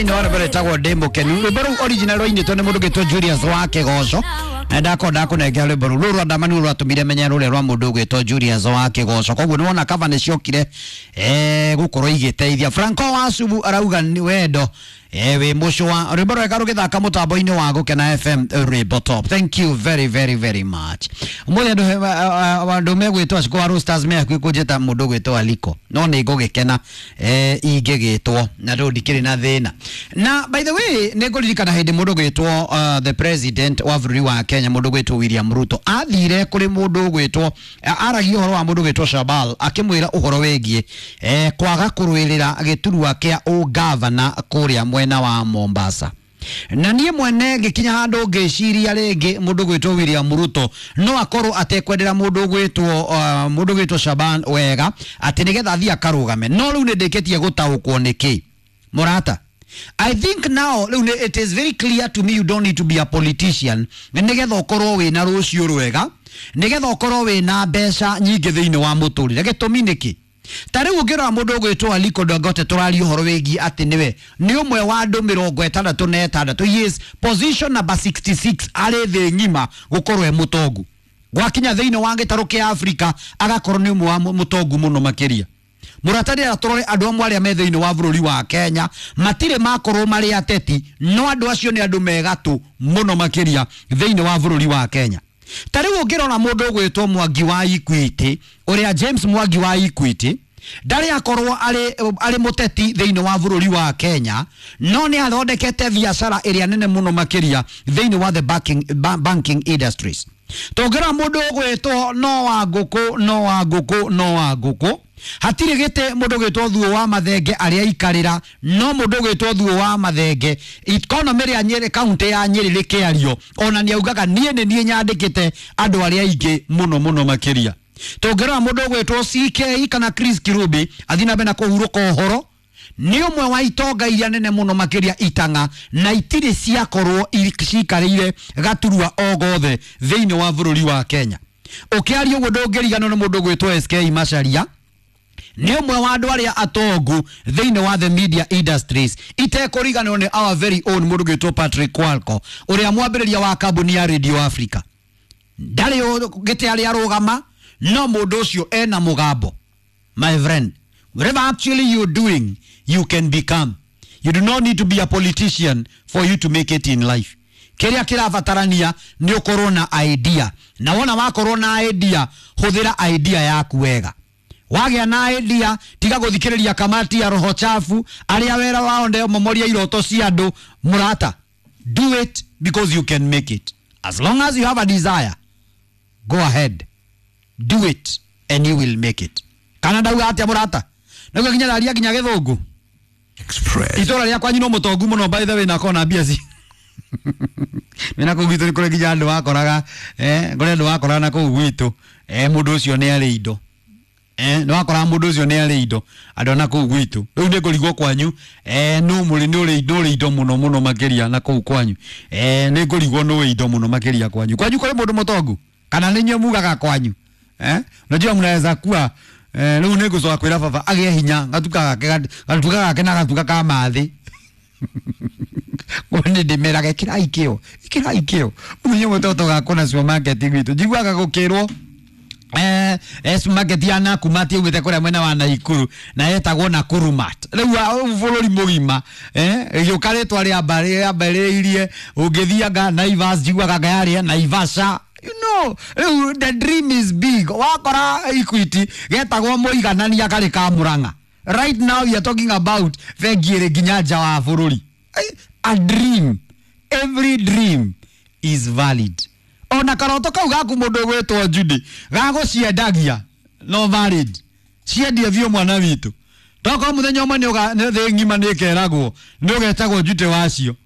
Nĩ rwĩmbo rwĩtagwo Ndĩ Mũkenu. Rwĩmbo rũu original rwainĩtwo nĩ mũndũ ũgwĩtwo Julius wa Kĩgoco, na ndakorwo ndakũnengera rwĩmbo rũu rũu rwa ndamani rwatũmire menye rũrĩa rwa mũndũ ũgwĩtwo Julius wa Kĩgoco. Koguo nĩ wona cover nĩ ciokire gũkorwo igĩteithia. Franco wa Subu arauga nĩ wendo wĩ mũcũa. Rwĩmbo rwega rũgĩthaka mũtambo-inĩ wa Gũkena FM, rwĩmbo top. Thank you very very very much. Ũmũthĩ andũ megwĩtwo Ashiko wa Roasters me hakuhĩ kũnjĩta mũndũ ũgwĩtwo Aliko, no nĩ ngũgĩkena ingĩgĩtwo na rĩu ndikĩrĩ na thĩna. Na by the way, nĩ ngũririkana hĩndĩ mũndũ ũgwĩtwo the president wa bũrũri wa Kenya, mũndũ ũgwĩtwo William Ruto, athire kũrĩ mũndũ ũgwĩtwo, aragia ũhoro wa mũndũ ũgwĩtwo Shabal, akĩmwĩra ũhoro wĩgiĩ kwaga kũrũĩrĩra gĩturwa kĩa ũgavana kũrĩa mwena wa Mombasa. Na niĩ mwene ngĩkinya handũ ngĩciria rĩngĩ mũndũ ũgwĩtwo William Ruto no akorwo atekwendera mũndũ ũgwĩtwo Shaban wega, atĩ nĩgetha athiĩ akarũgame. No rĩu nĩ ndĩkĩtie gũtaũkwo nĩkĩ, mũrata. I think now rĩu it is very clear to me, you don't need to be a politician nĩgetha ũkorwo wĩna rũciũ rwega, nĩgetha ũkorwo wĩna mbeca nyingĩ thĩinĩ wa mũtũrĩre. Gĩtũmi nĩkĩ? Ta rĩu ũngĩrora mũndũ ũgwĩtwo Aliko Dangote, tũraria ũhoro wĩgiĩ atĩ nĩwe nĩ ũmwe wa andũ 66, he is position number 66 arĩ thĩ ng'ima gũkorwo e mũtongu. Gwakinya thĩinĩ wa gĩtarũ kĩa Afrika, agakorwo nĩ ũmwe wa mũtongu mũno makĩria. Mũrata, rĩera tũrore andũ amwe arĩa me thĩinĩ wa bũrũri wa Kenya matirĩ makorwo marĩ ateti, no andũ acio nĩ andũ megatũ mũno makĩria thĩinĩ wa bũrũri wa Kenya. Ta rĩu ũngĩrora mũndũ ũgwĩtwo Mwangi wa Equity, ũrĩa James Mwangi wa Equity, ndarĩ akorwo arĩ mũteti thĩinĩ wa bũrũri wa Kenya, no nĩ athondekete biacara ĩrĩa nene mũno makĩria thĩinĩ wa the banking industries. Tũngĩrora mũndũ ũgwĩtwo no wa ngũkũ, no wa ngũkũ, no wa ngũkũ, hatirĩ gĩtĩ mũndũ ũgwĩtwo Thuo wa Mathenge arĩa aikarĩra, no mũndũ ũgwĩtwo Thuo wa Mathenge, economy ya Nyĩrĩ, kaunti ya Nyĩrĩ rĩkĩario, ona nĩ augaga niĩ nĩ niĩ nyandĩkĩte andũ arĩa aingĩ mũno mũno makĩria. Tũngĩrora mũndũ ũgwĩtwo CK kana Chris Kirubi, athiĩ na mbere na kũhurũka ũhoro, nĩ ũmwe wa itonga iria nene mũno makĩria itang'a na itirĩ ciakorwo cikarĩire gaturwa o gothe thĩinĩ wa bũrũri wa Kenya. Ũkĩaria ũguo ndũngĩriganwo nĩ mũndũ ũgwĩtwo SK Macharia, nĩ ũmwe wa andũ arĩa atongu thĩinĩ wa the media industries. Itekũriganĩrwo nĩ our very own mũndũ ũgwĩtwo Patrick Quarcoo, ũrĩa mwambĩrĩria wa kambuni ya Radio Africa. Ndarĩ gĩtĩ arĩa arũgama, no mũndũ ũcio ena mũgambo. My friend, whatever actually you're doing, you can become. You do not need to be a politician for you to make it in life. Kĩrĩa kĩrabatarania nĩ ũkorwo na idea, na wona wakorwo na idea, hũthĩra idea yaku wega. Wagĩa na idea, tiga gũthikĩrĩria kamati ya roho chafu arĩa wĩra wao ndio momoria iroto cia andũ. Mũrata, do it because you can make it. As long as you have a desire, go ahead, do it and you will make it. Kana ndauga atĩa, mũrata? Nĩguo nginya ndaria nginya gĩthũngũ. Express. Itũra rĩa kwanyu no mũtongu mũno, by the way, na kona mbia ci mena kũu gwitũ. Nĩ kũrĩ nginya andũ wakoraga, kũrĩ andũ wakoraga na kũu gwitũ, mũndũ ũcio nĩ arĩ indo, nĩ wakoraga mũndũ ũcio nĩ arĩ indo, andũ na kũu gwitũ. Rĩu nĩ ngũrigwo kwanyu, nũ mũrĩ nĩ ũrĩ indo mũno mũno makĩria na kũu kwanyu. Nĩ ngũrigwo nũ indo mũno makĩria kwanyu. Kwanyu kũrĩ mũndũ mũtongu kana nĩ inyuĩ mugaga kwanyu? Unajua mnaweza kuwa rĩu nĩ ngũcoka kwĩra baba agĩe hinya gatuka gake, gatuka gake na gatuka ka mathĩ. Nĩ ndĩmeraga ĩkĩrai kĩo, ĩkĩrai kĩo. Mũthenya ũmwe tũtoga na supermarket gwitũ, njiguaga gũkĩrwo supermarket ya Nakumatt yaumĩte kũrĩa mwena wa Naikuru na yetagwo Nakurumat. Rĩu bũrũri mũgima ĩgĩũka rĩtwa rĩambĩrĩirie ũngĩthianga Naivas, njiguaga anga yarĩ ya Naivasha. Rĩu the dream is big. Wakora Equity getagwo mũiganania karĩ ka Murang'a. Right now we are talking about bengi ĩrĩ nginya nja wa bũrũri. A dream, every dream is valid. Ona karoto kau gaku, mũndũ ũgwĩtwo Judy, gagũciendagia no valid, ciendie biũ, mwana witũ. Tokorwo mũthenya ũmwe nĩ thĩ ng'ima nĩ ĩkeragwo nĩ ũgetagwo Judy wacio.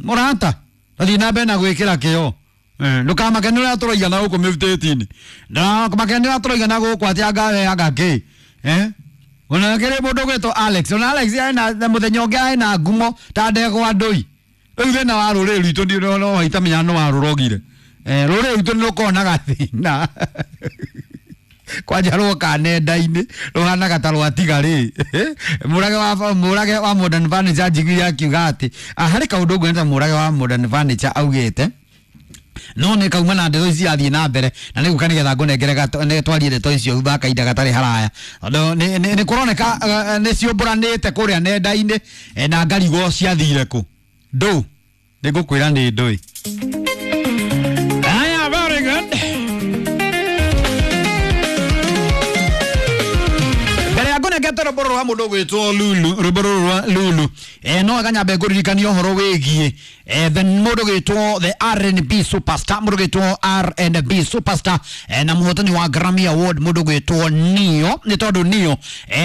Mũrata, tathiĩ na mbere na gwĩkĩra kĩo. Ndũkamake nĩ ũrĩa tũroigana gũkũ mĩbutĩti-inĩ, ndũkamake nĩ ũrĩa tũroigana gũkũ atĩ anga we anga kĩ. Ona kĩrĩ mũndũ ũgwĩtwo Alex, ona Alex ena na mũthenya ũngĩ ena ngumo ta ndegwa ndũi. Rĩu thĩna wa rũrĩrĩ rwitũ ndi no itamenya no warũrogire. Rũrĩrĩ rwitũ nĩ rũkoragwo na gathĩna. Kwanja rwoka nenda-inĩ rũhanaga ta rwatiga rĩ. Mũrage wa Modern Furniture njiguire akiuga atĩ harĩ kaũndũ nguonete Mũrage wa Modern Furniture augĩte no nä kauma na ndeto ici irathiä na mbere na nä guka nä getha ngå twarie ndeto icio thutha kahinda gatarä haraya tondå nä kå roneka nä ciåmbå te kå rä a nenda-inä na ngarigwo ciathire kå ndå nä ngå kwä ra nä ndå. Aya, very good. Mbere ya ngũnengete rwĩmbo rũrũ rwa mũndũ ũgwĩtwo Lulu, rwĩmbo rũrũ rwa Lulu, no wega nyambe ngũririkanie ũhoro wĩgiĩ the mũndũ ũgwĩtwo the R&B superstar, mũndũ ũgwĩtwo R&B superstar, na mũhotani wa Grammy Award mũndũ ũgwĩtwo Neo, nĩ tondũ Neo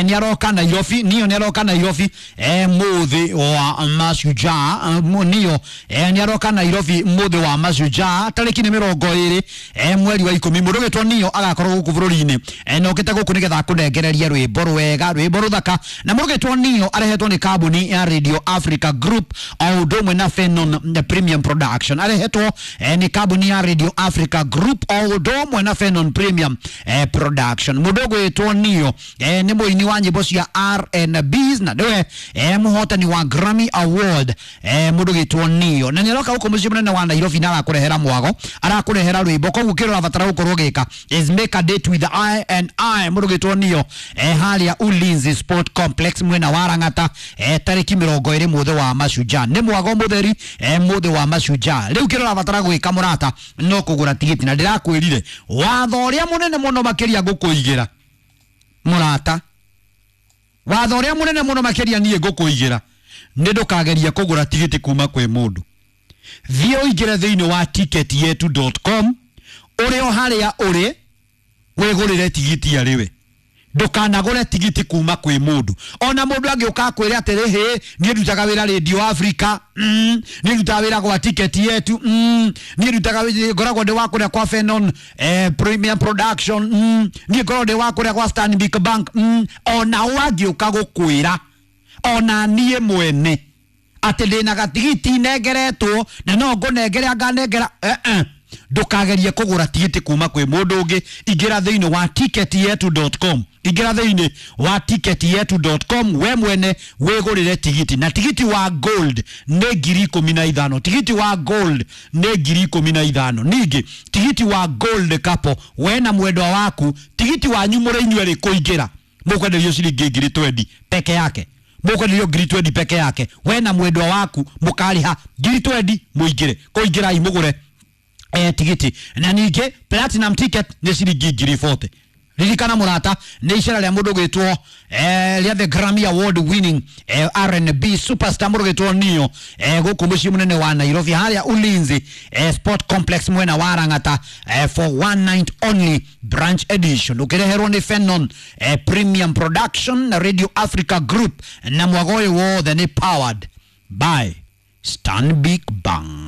nĩ aroka Nairobi, Neo nĩ aroka Nairobi mũthĩ wa Mashujaa, Neo nĩ aroka Nairobi mũthĩ wa Mashujaa tarĩki nĩ 20 mweri wa 10. Mũndũ ũgwĩtwo Neo agakorwo gũkũ bũrũri-inĩ na okĩte gũkũ nĩgetha akũnengererie rwĩmbo rwega, rwĩmbo rũthaka. Na mũndũ ũgwĩtwo Neo arehetwo nĩ kambuni ya Radio Africa Group o ũndũ ũmwe na Fenon Premium Production, arehetwo nĩ kambuni ya Radio Africa Group o ũndũ ũmwe na Fenon Premium Production. Mũndũ ũgwĩtwo Neo nĩ mũini wa nyĩmbo cia R&B na nĩwe mũhotani wa Grammy Award, mũndũ ũgwĩtwo Neo, na nĩ aroka gũkũ mũciĩ mũnene wa Nairobi na arakũrehera mwago, arakũrehera rwĩmbo. Koguo kĩrĩa ũrabatara gũkorwo ũgĩka is make a date with I and I, mũndũ ũgwĩtwo Neo, harĩa Ulinzi Sport Complex mwena wa Lang'ata, tarĩki 20 mũthĩ wa Mashujaa. Nĩ mwago mũtheri, mũthĩ wa Mashujaa. Rĩu kĩrĩa ũrabatara gwĩka mũrata no kũgũra tigiti, na ndĩrakwĩrire watho ũrĩa mũnene mũno makĩria ngũkũigĩra mũrata, watho ũrĩa mũnene mũno makĩria niĩ ngũkũigĩra nĩ ndũkagerie kũgũra tigiti kuma kwĩ mũndũ. Thiĩ ũingĩre thĩinĩ wa ticketyetu.com, ũrĩ o harĩa ũrĩ wĩgũrĩre tigiti arĩ we. Ndũkanagũre tigiti kuma kwĩ mũndũ. Ona mũndũ angĩũka akwĩre atĩrĩ, hĩ, niĩ ndutaga wĩra Radio Africa, niĩ ndutaga wĩra gwa Ticket Yetu, niĩ ndutaga ngoragwo ndĩ wa kũrĩa kwa Fenon Premium Production, niĩ ngoragwo ndĩ wa kũrĩa kwa Stanbic Bank, ona ũ angĩũka gũkwĩra ona niĩ mwene atĩ ndĩna gatigiti nengeretwo na no ngũnengere anganengera, ndũkagerie kũgũra tigiti kuma kwĩ mũndũ ũngĩ. Ingĩra thĩinĩ wa ticketyetu.com, ingĩra thĩinĩ wa ticketyetu.com we mwene wĩgũrĩre tigiti. Na tigiti wa gold nĩ 15,000, tigiti wa gold nĩ 15,000. Ningĩ tigiti wa gold couple, we na mwendwa waku, tigiti wanyu mũrĩ inyuerĩ kũingĩra mũkwenderio ciringi 20,000 peke yake, mũkwenderio 20,000 peke yake. We na mwendwa waku mũkarĩha 20,000 mũingĩre, kũingĩrai mũgũre tigiti. Na ningĩ platinum ticket nĩ ciringi 40,000. Ririkana mũrata, nĩ icera rĩa mũndũ ũgwĩtwo rĩa the Grammy Award winning R&B superstar mũndũ ũgwĩtwo Neo, gũkũ mũciĩ mũnene wa Nairobi harĩa Ulinzi Sport Complex mwena wa Lang'ata, for one night only branch edition, ũkĩreherwo nĩ Fenon Premium Production na Radio Africa Group, na mwago ũyũ wothe nĩ powered by Stanbic Bank.